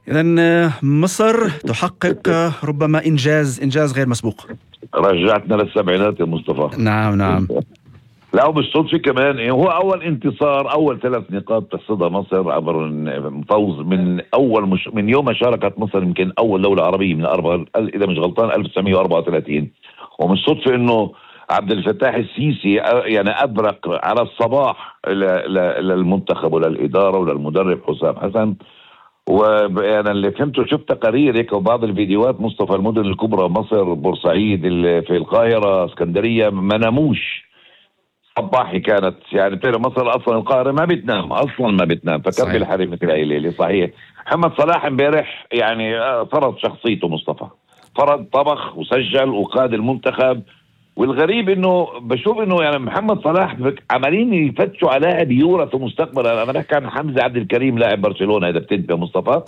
إذن مصر تحقق ربما إنجاز غير مسبوق. رجعتنا للسبعينات يا مصطفى. نعم نعم. لا وبالصدفة كمان هو أول انتصار، أول 3 نقاط تحصدها مصر عبر فوز من أول من يوم ما شاركت مصر، يمكن أول دولة عربية من إذا مش غلطان 1934. ومن صدفة إنه عبد الفتاح السيسي يعني أبرق على الصباح للمنتخب وللإدارة وللمدرب حسام حسن. وأنا اللي فهمته شفت تقارير هيك وبعض الفيديوهات مصطفى، المدن الكبرى مصر، بورسعيد، في القاهرة، اسكندرية، ما ناموش. صباحي كانت يعني بتعرف مصر اصلا القاهره ما بتنام اصلا، ما بتنام. فكان بالحريم مثل هاي الليله. صحيح محمد صلاح امبارح يعني فرض شخصيته مصطفى، فرض، طبخ وسجل وقاد المنتخب. والغريب انه بشوف انه يعني محمد صلاح عمالين يفتشوا على لاعب يورث مستقبلا. انا بحكي عن حمزه عبد الكريم لاعب برشلونه، اذا بتنتبه مصطفى.